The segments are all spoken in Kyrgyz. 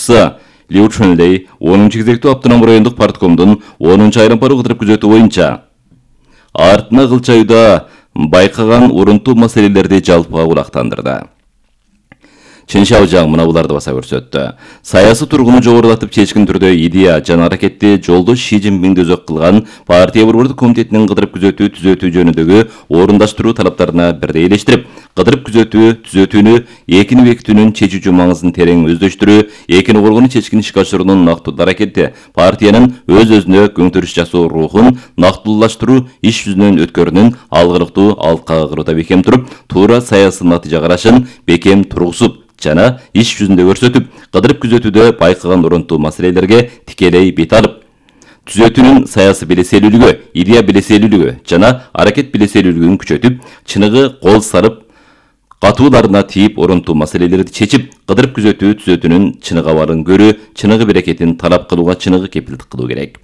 башчысы Liu Chunlei 10-кезектүү автоном райондук парткомдун 10-айрым-пару кыдырып күзөтүү боюнча артына кылчаюуда байкаган урунтуу маселелерди жалпыга кулактандырды. Чын Шаожаң мына буларды баса көрсөттү. Саясий тургуну жогорулатып чечкин түрдө идея жана аракетти жолдош Ши Цзиньпинди өзөк кылган партия борбордук комитетинин кыдырып түзөтүү жөнүндөгү орундаштыруу талаптарына бирдей элештирип, кыдырып түзөтүүнү экини бекитүүнүн чечүүчү маңызын терең өздөштүрүү, экини коргонуу чечкин ишке ашыруунун нактылуу аракети, партиянын өз-өзүнө көңтүрүш жасоо рухун нактылуулаштыруу иш жүзүнөн өткөрүүнүн алгырыктуу алкага кыруууда бекем туруп, туура саясий натыйжа карашын бекем тургузуп жана иш жүзүндө көрсөтүп, кыдырып күзөтүүдө байкаган урунтуу маселелерге тикелей бет алып, түзөтүүнүн саясий белеселүүлүгү, идея белеселүүлүгү жана аракет белеселүүлүгүн күчөтүп, чыныгы кол сарып, катууларына тийип урунтуу маселелерди чечип, кыдырып күзөтүү түзөтүүнүн чыныгы абалын көрүү, чыныгы берекетин талап кылууга чыныгы кепилдик кылуу керек.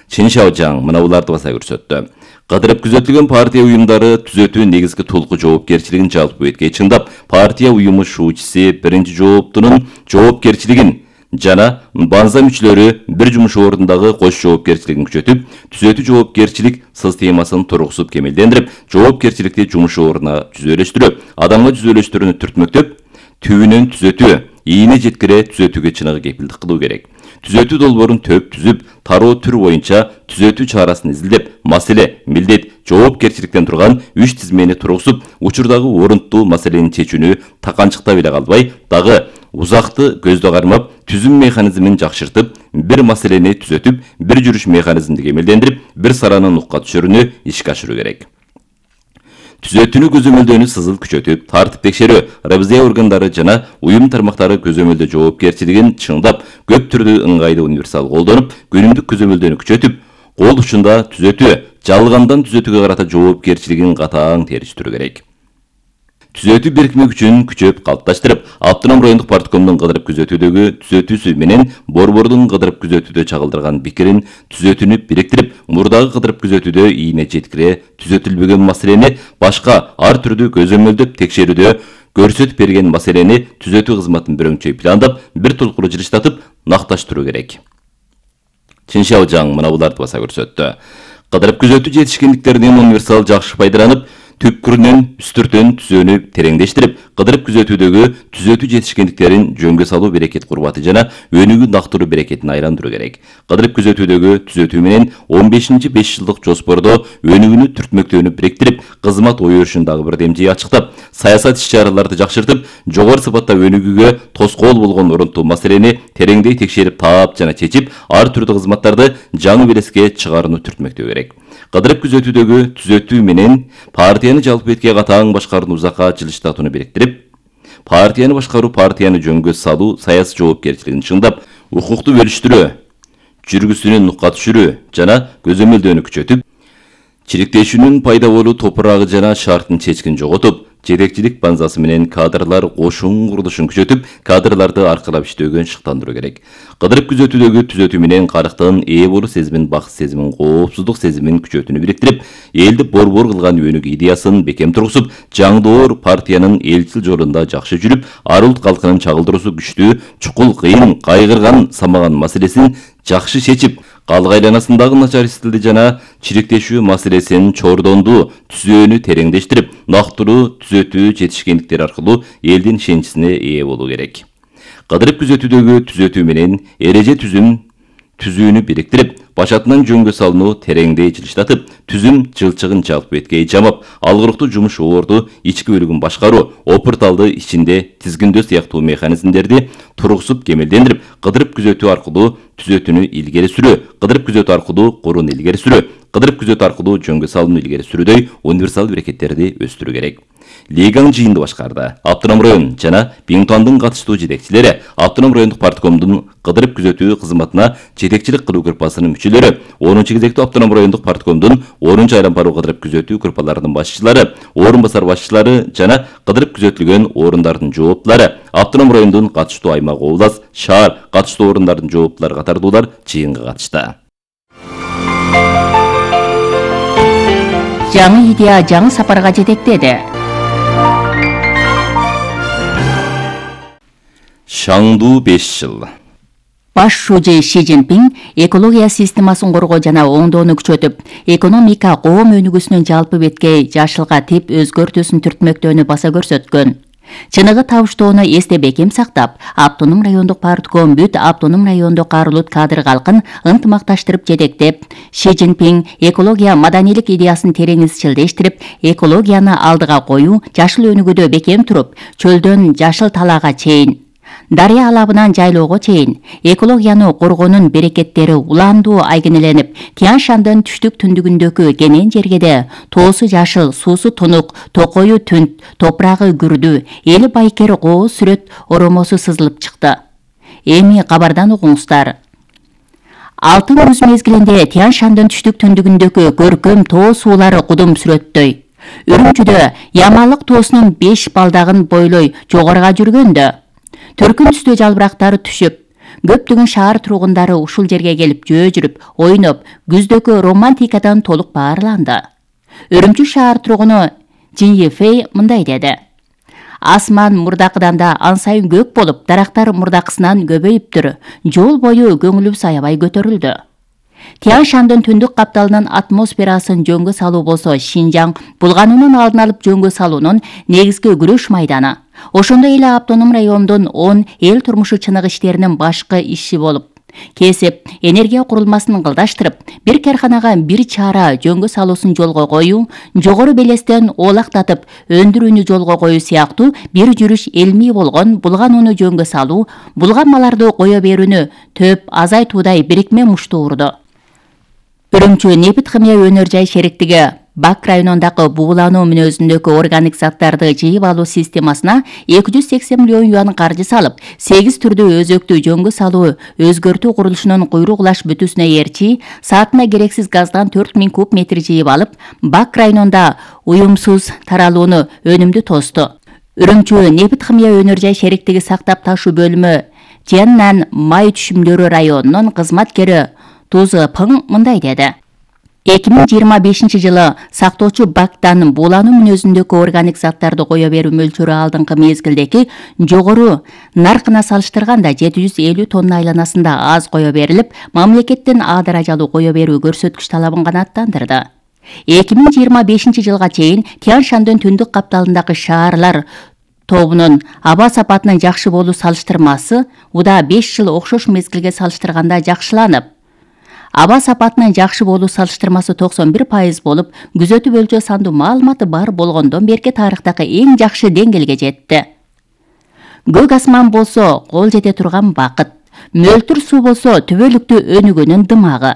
Чын Шаожаң мына буларды баса көрсөттү. Кыдырып күзөтүлгөн партия уюмдары түзөтүү негизги толку жоопкерчилигин жалпы бетке чыңдап, партия уюму шуучуси биринчи жооптунун жоопкерчилигин жана банза мүчөлөрү бир жумуш ордундагы кош жоопкерчилигин күчөтүп, түзөтүү жоопкерчилик системасын тургузуп кемелдендирип, жоопкерчиликти жумуш ордуна жүзөлөштүрүп, адамга жүзөлөштүрүүнү түртмөктөп, түбүнөн түзөтүү, ийине жеткире түзөтүүгө чыныгы кепилдик кылуу керек. Түзөтүү долбоорун төп түзүп, тароо түр боюнча түзөтүү чарасын изилдеп, маселе, милдет, жоопкерчиликтен турган 3 тизмени тургузуп, учурдагы орунтуу маселени чечүүнү таканчыктап эле калбай, дагы узакты көздө кармап, түзүм механизмин жакшыртып, бир маселени түзөтүп, бир жүрүш механизмди кемелдендирип, бир сараны нукка түшүрүүнү ишке ашыруу керек. Түзөтүүнү көзөмөлдөөнү сызыл күчөтүп, тартип текшерүү, ревизия органдары жана уюм тармактары көзөмөлдөө жоопкерчилигин чыңдап, көп түрдүү ыңгайлуу универсал колдонуп, күнүмдүк көзөмөлдөөнү күчөтүп, кол учунда түзөтүү, жалгандан түзөтүүгө карата жоопкерчилигин катаң териштирүү керек. Түзөтүү бирикме күчүн күчөп калыпташтырып, автоном райондук парткомдун кыдырып күзөтүүдөгү түзөтүүсү менен борбордун кыдырып күзөтүүдө чагылдырган пикирин түзөтүүнү бириктирип, мурдагы кыдырып күзөтүүдө ийине жеткире түзөтүлбөгөн маселени башка ар түрдүү көзөмөлдөп текшерүүдө көрсөтүп берген маселени түзөтүү кызматын бирөңчөй пландап, бир толкуру жылыштатып, накташтыруу керек. Чын Шаожаң мына буларды баса көрсөттү. Кыдырып күзөтүү жетишкендиктеринен универсал жакшы пайдаланып, түпкүрүнөн үстүртөн түзөөнү тереңдештирип, кыдырып күзөтүүдөгү түзөтүү жетишкендиктерин жөнгө салуу берекет курбаты жана өнүгүү нактыруу берекетин айландыруу керек. Кыдырып күзөтүүдөгү түзөтүү менен 15-5 жылдык жоспордо өнүгүүнү түртмөктөөнү бириктирип, кызмат ой өрүшүн дагы бирдемжей ачыктап, саясат иш-чараларды жакшыртып, жогору сапатта өнүгүүгө тоскоол болгон урунтуу маселени тереңдей текшерип, таап жана чечип, ар түрдүү кызматтарды жаңы белеске чыгарууну түртмөктөө керек. Кыдырып күзөтүүдөгү түзөтүү менен партияны жалпы бетке катаң башкарууну узакка жылыштатууну бириктирип, партияны башкаруу, партияны жөнгө салуу, саясий жоопкерчилигин чыңдап, укукту бөлүштүрүү, жүргүсүнүн нукка түшүрүү жана көзөмөлдөөнү күчөтүп, чириктешүүнүн пайда болуу топурагы жана шартын чечкин жоготуп, жетекчилик банзасы менен кадрлар кошун курулушун күчөтүп, кадрларды аркылап иштөөгө шыктандыруу керек. Кыдырып күзөтүүдөгү түзөтүү менен карыктын ээ болуу сезимин, бакыт сезимин, коопсуздук сезимин күчөтүүнү бириктирип, элди борбор кылган өнүгүү идеясын бекем тургузуп, жаңдоор партиянын элчил жолунда жакшы жүрүп, ар улут калкынын чагылдыруусу күчтүү, чукул, кыйын, кайгырган, самаган маселесин жакшы чечип, калк айланасындагы начар стилди жана чириктешүү маселесин чордондуу түзөөнү тереңдештирип, нактылуу түзөтүү жетишкендиктери аркылуу элдин ишеничине ээ болуу керек. Кыдырып күзөтүүдөгү түзөтүү менен эреже түзүүнү бириктирип, башатынан жөнгө салууну тереңдей жылыштатып, түзүм жылчыгын жалпы бетке жамап, алгырыктуу жумуш орду, ички бөлүгүн башкаруу, опурталды ичинде тизгиндөө сыяктуу механизмдерди тургузуп кемелдендирип, кыдырып күзөтүү аркылуу түзөтүүнү илгери сүрүү, кыдырып күзөтүү аркылуу курууну илгери сүрүү, кыдырып күзөтүү аркылуу жөнгө салууну илгери сүрүүдөй универсал берекеттерди өстүрүү керек. Лигаң жыйынды башкарды. Автоном район жана Биңтуандын катыштуу жетекчилери, автоном райондук парткомдун кыдырып күзөтүү кызматына жетекчилик кылуу группасынын мүчөлөрү, 10-кезектүү автоном райондук парткомдун 10-айрым-пару кыдырып күзөтүү группаларынын башчылары, орун басар башчылары жана кыдырып күзөтүлгөн орундардын жооптулары, автоном райондун катыштуу аймак, област, шаар катыштуу орундардын жооптулары катардуулар жыйынга катышты. Жаңы идея жаңы сапарга жетектеди. Шаңдуу 5 жыл. Баш шужи Ши Цзиньпин экология системасын коргоо жана оңдоону күчөтүп, экономика коом өнүгүүсүнүн жалпы беткей жашылга тип өзгөртүүсүн түртмөктөөнү баса көрсөткөн. Чыныгы табыштоону эсте бекем сактап, автоном райондук партком бүт автоном райондук арулут кадр калкын ынтымакташтырып жетектеп, Ши Цзиньпин экология маданийлик идеясын терең изчилдештирип, экологияны алдыга коюу, жашыл өнүгүүдө бекем туруп, чөлдөн жашыл талаага чейин, дарыя алабынан жайлоого чейин экологияны коргоонун берекеттери улаандуу айгинеленип, Тянь-Шандын түштүк түндүгүндөгү кенен жергеде тоосу жашыл, суусу тунук, токою түнт, топурагы күрдүү, эли байкер кооз сүрөт оромосу сызылып чыкты. Эми кабардан угуңуздар. Алтын күз мезгилинде Тянь-Шандын түштүк түндүгүндөгү көркөм тоо суулары кудум сүрөттөй. Үрүмчүдө Ямалык тоосунун 5 балдагын бойлой жогоруга жүргөндө төркүн түстүү жалбырактары түшүп, көптөгөн шаар тургундары ушул жерге келип жөө жүрүп, ойноп, күздөгү романтикадан толук баарланды. Үрүмчү шаар тургуну Жин Ефей мындай деди: Асман мурдакыдан да ан сайын көк болуп, дарактар мурдакысынан көбөйүптүр. Жол бою көңүлүбүз аябай көтөрүлдү. Тянь-Шандын түндүк капталынын атмосферасын жөнгө салуу болсо Шинжаң булгануунун алдын алып жөнгө салуунун негизги күрөш майданы. Ошондой эле автоном райондун 10 эл турмушу чыныгы иштеринин башкы иши болуп, кесип, энергия курулмасын кылдаштырып, бир карханага бир чара жөнгө салуусун жолго коюу, жогору белестен оолактатып өндүрүүнү жолго коюу сыяктуу бир жүрүш илмий болгон булганууну жөнгө салуу, булганмаларды кое берүүнү төп азайтуудай бирикме мушту урду. Үрүмчү нефть химия өнөр жай шериктиги Бак районундагы буулануу мүнөзүндөгү органик заттарды жыйып алуу системасына 280 миллион юан каржы салып, 8 түрдүү өзөктү жөнгө салуу өзгөртүү курулушунун куйругулаш бүтүүсүнө ээрчи, саатына керексиз газдан 4000 куб метр жыйып алып, Бак районунда уюмсуз таралууну өнүмдүү тосту. Үрүмчү нефть химия өнөр жай шериктиги сактап ташуу бөлүмү Жианнан май түшүмдөрү районунун кызматкери Тузы Пың мындай деди: 2025 жылы сактоочу Бактан буулануу мүнөзүндөгү органик заттарды кое берүү мөлчөрү алдыңкы мезгилдеги жогору наркына салыштырганда 750 тонна айланасында аз кое берилип, мамлекеттин А даражалуу кое берүү көрсөткүч талабын канааттандырды. 2025 жылга чейин Тянь-Шандын түндүк капталындагы шаарлар тобунун аба сапатынын жакшы болуу салыштырмасы уда 5 жыл окшош мезгилге салыштырганда жакшыланып, аба сапатынын жакшы болуу салыштырмасы 91% болуп, күзөтүү өлчө сандуу маалыматы бар болгондон берки тарыхтагы эң жакшы деңгээлге жетти. Көк асман болсо кол жете турган бакыт, мөлтүр суу болсо түбөлүктүү өнүгүүнүн дымагы.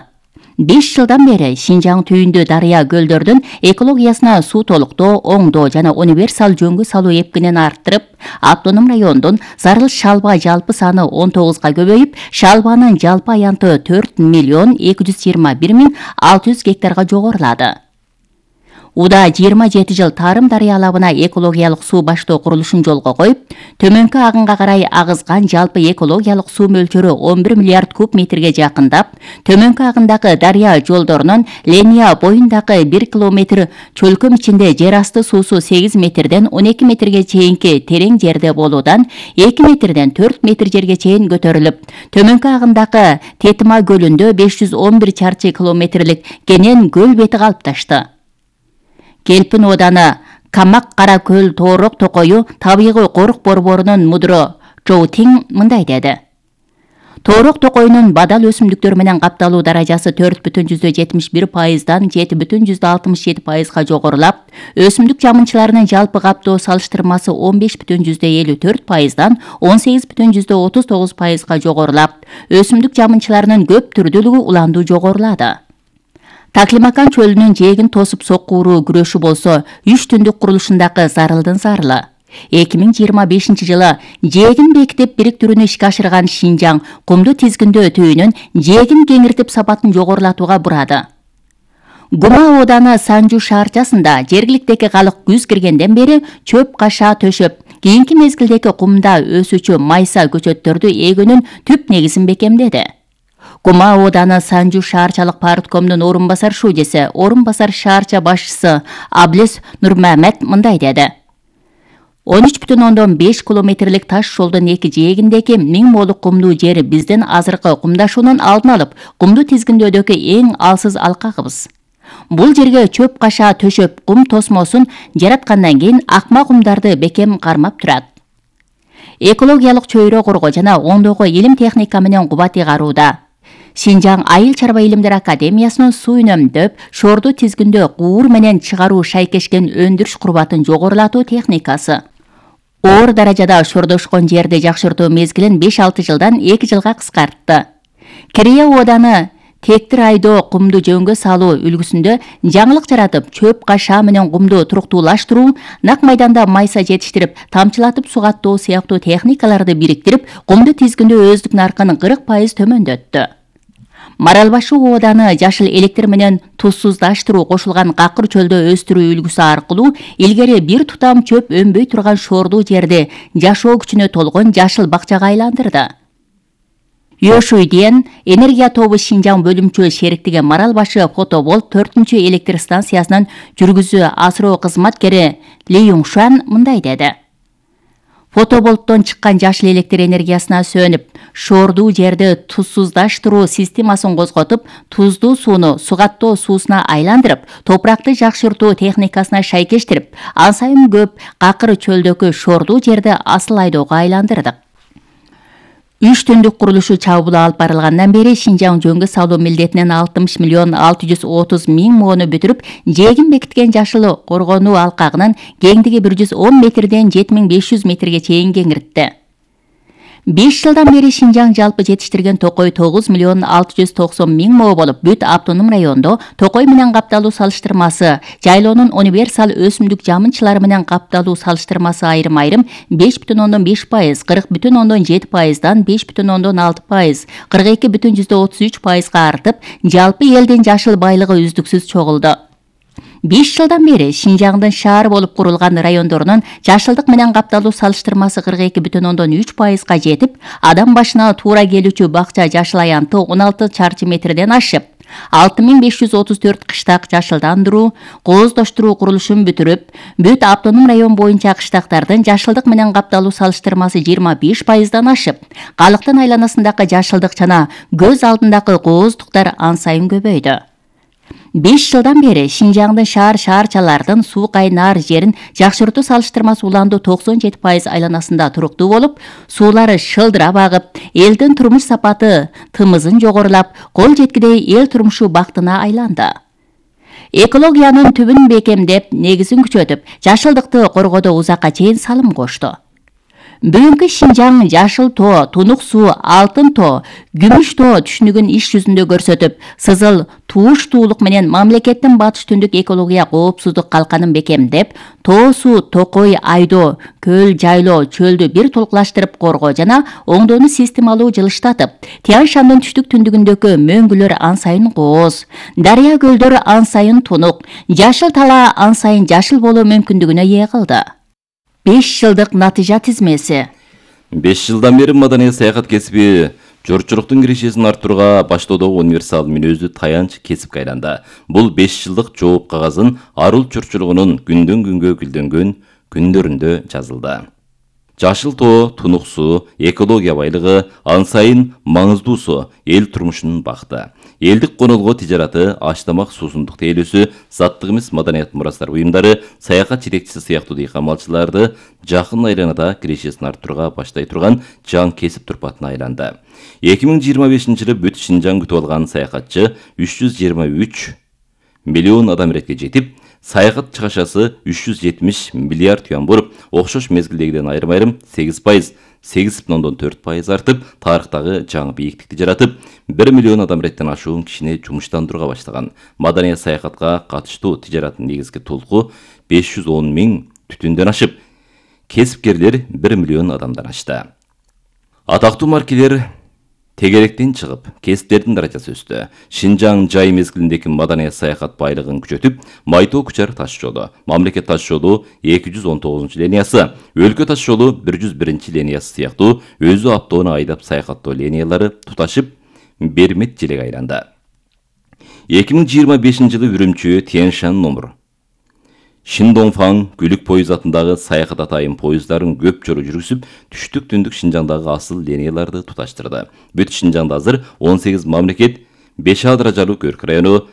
5 жылдан бери Шинжаң түйүндүү дарыя көлдөрдүн экологиясына суу толуктоо, оңдоо жана универсал жөнгө салуу эпкинин арттырып, автоном райондун зарыл шалба жалпы саны 19га көбөйүп, шалбанын жалпы аянты 4 миллион 221 миң 600 гектарга жогорулады. Уда 27 жыл тарым дарыя алабына экологиялык суу баштоо курулушун жолго коюп, төмөнкү агынга карай агызган жалпы экологиялык суу мөлчөрү 11 миллиард куб метрге жакындап, төмөнкү агындагы дарыя жолдорунун линия боюндагы 1 километр чөлкөм ичинде жер асты суусу 8 метрден 12 метрге чейинки терең жерде болуудан 2 метрден 4 метр жерге чейин көтөрүлүп, төмөнкү агындагы Тетима көлүндө 511 чарчы километрлик кенен көл бети калыпташты. Келпин ооданы Камак Кара көл тоорок токою табигый корук борборунун мудро Чоу Тиң мындай деди: Тоорок токоюнун бадал өсүмдүктөр менен капталуу даражасы 4,71%дан 7,67%га жогорулап, өсүмдүк жамынчыларынын жалпы каптоо салыштырмасы 15,54%дан 18,39%га жогорулап, өсүмдүк жамынчыларынын көп түрдүүлүгү уланду жогорулады. Таклимакан чөлүнүн жээгин тосуп соккууруу күрөшү болсо 3 түндүк курулушундагы зарылдын зарылы. 2025 жылы жээгин бекитип бириктирүүнү ишке ашырган Шинжаң кумду тизгиндөө түйүнүн жээгин кеңиртип сапатын жогорулатууга бурады. Гума ооданы Санжу шаарчасында жергиликтеги калык күз киргенден бери чөп каша төшөп, кийинки мезгилдеги кумда өсүүчү майса көчөттөрдү эгүүнүн түп негизин бекемдеди. Гума ооданы Санжу шаарчалык парткомдун орун басар шужеси, орун басар шаарча башчысы Аблес Нурмамет мындай деди: 13,5 километрлик таш жолдун эки жээгиндеги 1000 молук кумдуу жер биздин азыркы кумдашуунун алдын алып, кумду тизгиндөөдөгү эң алсыз алкагыбыз. Бул жерге чөп каша төшөп, кум тосмосун жараткандан кийин акма кумдарды бекем кармап турат. Экологиялык чөйрө коргоо жана оңдоого илим техника менен кубат ыйгарууда. Шинжаң Айыл чарба илимдер академиясынын суу үнөмдөп, шорду тизгиндөө куур менен чыгаруу шайкешкен өндүрүш курбатын жогорулатуу техникасы. Оор даражада шордошкон жерди жакшыртуу мезгилин 5-6 жылдан 2 жылга кыскартты. Кирия ооданы тектир айдоо кумду жөнгө салуу үлгүсүндө жаңылык жаратып, чөп каша менен кумду туруктуулаштыруу, нак майданда майса жетиштирип, тамчылатып сугаттоо сыяктуу техникаларды бириктирип, кумду тизгиндөө өздүк наркын 40% төмөндөттү. Маралбашы ооданы жашыл электр менен тузсуздаштыруу кошулган какыр чөлдө өстүрүү үлгүсү аркылуу илгери бир тутам чөп өнбөй турган шордуу жерди жашоо күчүнө толгон жашыл бакчага айландырды. Йошуйден энергия тобу Шинжаң бөлүмчө шериктиги Маралбашы Фотоболт 4-чү электр станциясынын жүргүзүү асыроо кызматкери Ли Юңшан мындай деди. Фотоболттон чыккан жашыл электр энергиясына сөнүп, шордуу жерди тузсуздаштыруу системасын козготуп, туздуу сууну сугаттоо суусуна айландырып, топуракты жакшыртуу техникасына шайкештирип, ан сайын көп какыр чөлдөгү шордуу жерди асыл айдоого айландырдык. 3 түндүк курулушу чабуул алып барылгандан бери Шинжаң жөнгө салуу милдетинен 60 миллион 630 миң моону бүтүрүп, жээгин бекиткен жашыл коргонуу алкагынын кеңдиги 110 метрден 7500 метрге чейин кеңиртти. 5 жылдан бери Шинжаң жалпы жетиштирген токой 9 миллион 690 миң мо болуп, бүт автоном райондо токой менен капталуу салыштырмасы, жайлоонун универсал өсүмдүк жамынчылары менен капталуу салыштырмасы айрым-айрым 5,5%, 40,7%дан 5,6%, 42,33%га артып, жалпы элдин жашыл байлыгы үздүксүз чогулду. 5 жылдан бери Шинжаңдын шаар болуп курулган райондорунун жашылдык менен капталуу салыштырмасы 42,3%га жетип, адам башына туура келүүчү бакча жашыл аянты 16 чарчы метрден ашып, 6534 кыштак жашылдандыруу, кооздоштуруу курулушун бүтүрүп, бүт автоном район боюнча кыштактардын жашылдык менен капталуу салыштырмасы 25%дан ашып, калктын айланасындагы жашылдык жана көз алдындагы кооздуктар ан сайын көбөйдү. 5 жылдан бери Шинжаңдын шаар-шаарчалардын суу кайнаар жерин жакшыртуу салыштырмасы уланду 97% айланасында туруктуу болуп, суулары шылдырап агып, элдин турмуш сапаты тымызын жогорулап, кол жеткидей эл турмушу бактына айланды. Экологиянын түбүн бекемдеп, негизин күчөтүп, жашылдыкты коргоодо узакка чейин салым кошту. Бүгүнкү Шинжаң жашыл тоо, тунук суу, алтын тоо, күмүш тоо түшүнүгүн иш жүзүндө көрсөтүп, сызыл тууштуулук менен мамлекеттин батыш түндүк экология коопсуздук калканын бекемдеп, тоо суу, токой айдоо, көл жайлоо, чөлдү бир толкулаштырып коргоо жана оңдоону системалуу жылыштатып, Тянь-Шандын түштүк түндүгүндөгү мөңгүлөр ан сайын кооз, дарыя көлдөр ан сайын тунук, жашыл талаа ан сайын жашыл болуу мүмкүндүгүнө ээ кылды. 5 жылдык натыйжа тизмеси. 5 жылдан бери маданий саякат кесиби журтчулуктун кирешесин арттырууга баштоодогу универсал мүнөздүү таянч кесипке айланды. Бул 5 жылдык жооп кагазын арул журтчулугунун күндөн күнгө гүлдөнгөн күндөрүндө жазылды. Жашыл тоо, тунук суу, экология байлыгы, ан сайын маңыздуусу эл турмушунун бакыты. Элдик конолго тижараты, ач-тамак, суусундук тейлөөсү, заттык эмес маданият мурастар уюмдары, саякат жетекчиси сыяктуу дыйкан малчыларды жакын айланада кирешесин арттырууга баштай турган жаң кесип турпатына айланды. 2025-жылы бүт Шинжаң күтүп алган саякатчы 323 миллион адам иретке жетип, саякат чыгашасы 370 миллиард юан болуп, окшош мезгилдегиден айрым-айрым 8%, 8,4% артып, тарыхтагы жаңы бийиктикти жаратып, 1 миллион адам иреттен ашуун кишини жумуштандырууга баштаган. Маданий саякатка катыштуу тижараттын негизги толку 510 миң түтүндөн ашып, кесипкерлер 1 миллион адамдан ашты. Атактуу маркелер тегеректен чыгып, кесиптердин даражасы өстү. Шинжаң жай мезгилиндеги маданий саякат байлыгын күчөтүп, Майтоо Кучар таш жолу, мамлекет таш жолу 219 линиясы, өлкө таш жолу 101 линиясы сыяктуу өзү автоону айдап саякаттоо линиялары туташып, Бермет желеге айланды. 2025 жылы Үрүмчү Тянь-Шань номер Шиндоңфаң Күлүк поезд атындагы саякат атайын поезддарын көп жолу жүргүзүп, түштүк түндүк Шинжаңдагы асыл линияларды туташтырды. Бүт Шинжаңда азыр 18 мамлекет, 5 А даражалуу көрк району,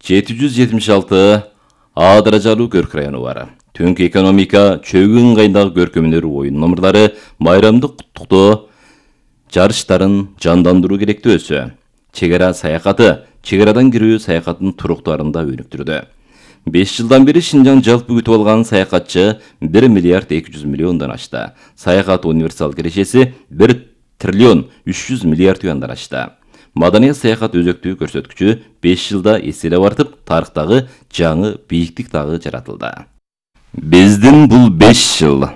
776 А даражалуу көрк району бар. Түнкү экономика, чөгүн ыңгайындагы көркөмдөр оюн номерлары, майрамдык куттуктоо жарыштарын жандандыруу керектөөсү. Чек ара саякаты, чек арадан кирүү саякаттын туруктарын да өнүктүрдү. 5 жылдан бери Шинжаң жалпы күтүп алган саякатчы 1 миллиард 200 миллиондон ашты. Саякат универсал кирешеси 1 триллион 300 миллиард юандан ашты. Маданият саякат өзөктүү көрсөткүчү 5 жылда эселеп артып, тарыхтагы жаңы бийиктик дагы жаратылды. Биздин бул 5 жыл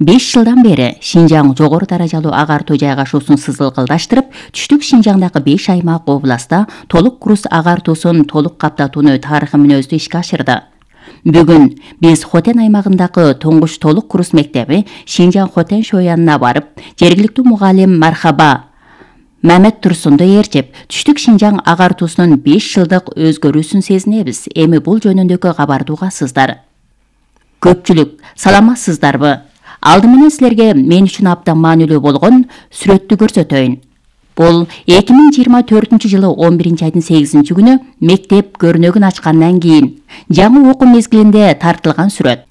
5 жылдан бери Шинжаң жогору даражалуу агартуу жайгашуусун сызылкылдаштырып, түштүк Шинжаңдагы 5 аймак областта толук курс агартуусун толук каптатууну тарыхы мүнөздүү ишке ашырды. Бүгүн биз Хотен аймагындагы туңгуч толук курс мектеби Шинжаң Хотен шоянына барып, жергиликтүү мугалим Мархаба Мамет Турсунду ээрчип, түштүк Шинжаң агартуусунун 5 жылдык өзгөрүүсүн сезинебиз. Эми бул жөнүндөгү кабарды угасыздар. Көпчүлүк саламатсыздарбы? Алды менен силерге мен үчүн абдан маанилүү болгон сүрөттү көрсөтөйүн. Бул 2024 жылы 11 айдын 8 күнү мектеп көрнөгүн ачкандан кийин жаңы окуу мезгилинде тартылган сүрөт.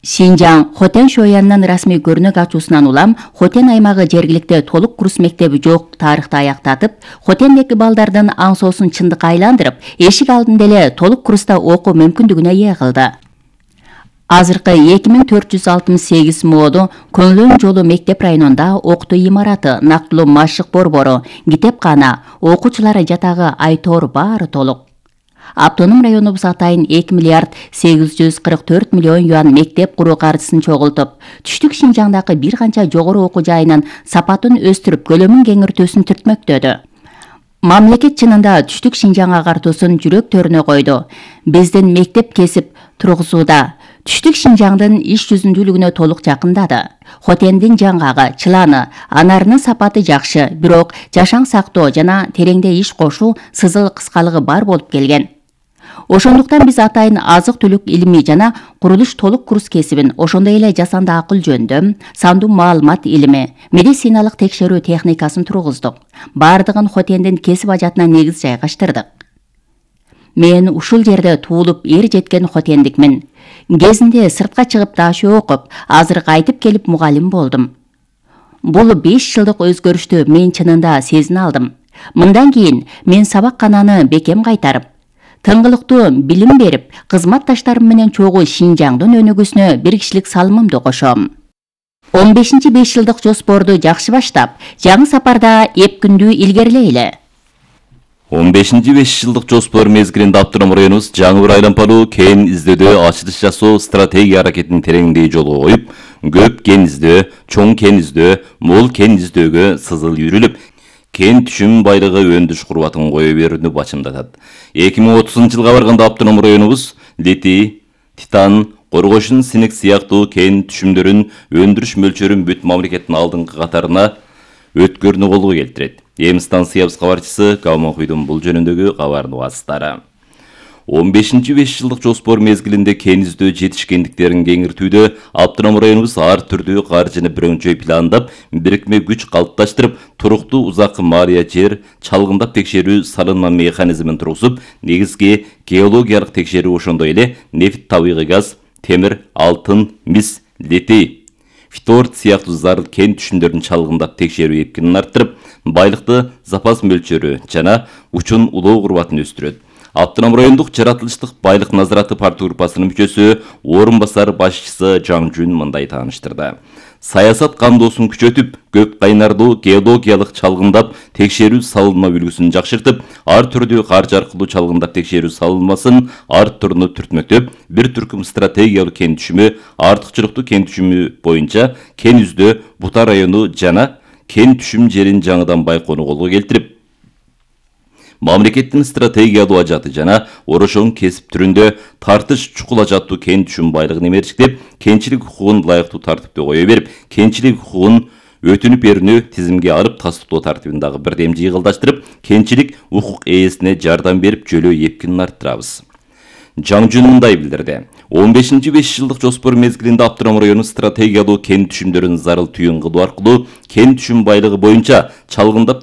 Шинжаң Хотен шоянынын расмий көрнөк ачуусунан улам Хотен аймагы жергиликте толук курс мектеби жок тарыхты аяктатып, Хотендеги балдардын аңсоосун чындыкка айландырып, эшик алдында эле толук курста окуу мүмкүндүгүнө ээ кылды. Азыркы 2468 мооду Көңлөн жолу мектеп районунда окутуу имараты, нактылуу машык борбору, китепкана, окуучулары жатагы айтор баары толук. Автоном районубуз атайын 2 миллиард 844 миллион юан мектеп куруу каржысын чогултуп, түштүк Шинжаңдагы бир канча жогору окуу жайынын сапатын өстүрүп, көлөмүн кеңиртүүсүн түртмөктөдү. Мамлекет чынында түштүк Шинжаң агартуусун жүрөктөрүнө койду. Биздин мектеп кесип тургузууда түштүк Шинжаңдын иш жүзүндүүлүгүнө толук жакындады. Хотендин жаңгагы, чыланы, анарынын сапаты жакшы, бирок жашаң сактоо жана тереңде иш кошуу сызыл кыскалыгы бар болуп келген. Ошондуктан биз атайын азык-түлүк илми жана курулуш толук курс кесибин, ошондой эле жасанды акыл жөндөм, сандуу маалымат илими, медициналык текшерүү техникасын тургуздук. Бардыгын Хотендин кесип ажатына негиз жайгаштырдык. Мен ушул жерде туулуп эр жеткен хотендикмин. Кезинде сыртка чыгып дашөө окуп, азыр кайтып келип мугалим болдум. Бул 5 жылдык өзгөрүштү мен чынында сезине алдым. Мындан кийин мен сабаккананы бекем кайтарып, тыңгылыктуу билим берип, кызматташтарым менен чогуу Шинжаңдын өнүгүүсүнө бир кишилик салымымды кошом. 15-5 жылдык жоспорду жакшы баштап, жаңы сапарда эпкүндүү илгерилейли. 15-5 жылдык жоспор мезгилинде Автоном районубуз жаңы бир айлампалуу кен издөөдө ачылыш жасоо стратегия аракетин тереңдей жолго коюп, көп кен издөө, чоң кен издөө, мол кен издөөгө сызыл үйрүлүп, кен түшүм байлыгы өндүрүш курбатын кое берүүнү бачымдатат. 2030 жылга барганда Автоном районубуз литий, титан, коргошун, синик сыяктуу кен түшүмдөрүн өндүрүш мөлчөрүн бүт мамлекеттин алдыңкы катарына өткөрүүнү колго келтирет. Эми станциябыз кабарчысы Калманкуйдун бул жөнүндөгү кабарын угасыздары. 15-5 жылдык жоспор мезгилинде кен издөө жетишкендиктерин кеңиртүүдө Автоном районубуз ар түрдүү каржыны бирөңчөй пландап, бирикме күч калыпташтырып, туруктуу узаккы маалия жер чалгындап текшерүү салынма механизмин тургузуп, негизги геологиялык текшерүү, ошондой эле нефт, табигый газ, темир, алтын, мис, литий, фторд сыяктуу зарыл кен түшүмдөрүн чалгындап текшерүү эпкинин арттырып, байлыкты запас мөлчөрү жана учун улоо курбатын өстүрөт. Автоном райондук жаратылыштык байлык назараты партия группасынын мүчөсү, орун басар башчысы Жаңжүн мындай тааныштырды. Саясат кандоосун күчөтүп, көк кайнардуу геологиялык чалгындап текшерүү салынма үлгүсүн жакшыртып, ар түрдүү каржы аркылуу чалгындап текшерүү салынмасын ар түрүнө түртмөктөп, бир түркүм стратегиялык кен түшүмү, артыкчылыктуу кен түшүмү боюнча кен издөө, Бута району жана кен түшүм жерин жаңыдан байкоону колго келтирип, мамлекеттин стратегиялуу ажаты жана орошоң кесип түрүндө тартыш чукул ажаттуу кен түшүм байлыгын эмерчиктеп, кенчилик укугун ылайыктуу тартипте кое берип, кенчилик укугун өтүнүп берүүнү тизимге алып тастыктоо тартибин дагы бирдем жыйгылдаштырып, кенчилик укук ээсине жардам берип, жөлөө эпкинин арттырабыз. Жаңжун мындай билдирди. 15-5 жылдык жоспор мезгилинде Аптырам району стратегиялуу кен түшүмдөрүн зарыл түйүн кылуу аркылуу кен түшүм байлыгы боюнча чалгындап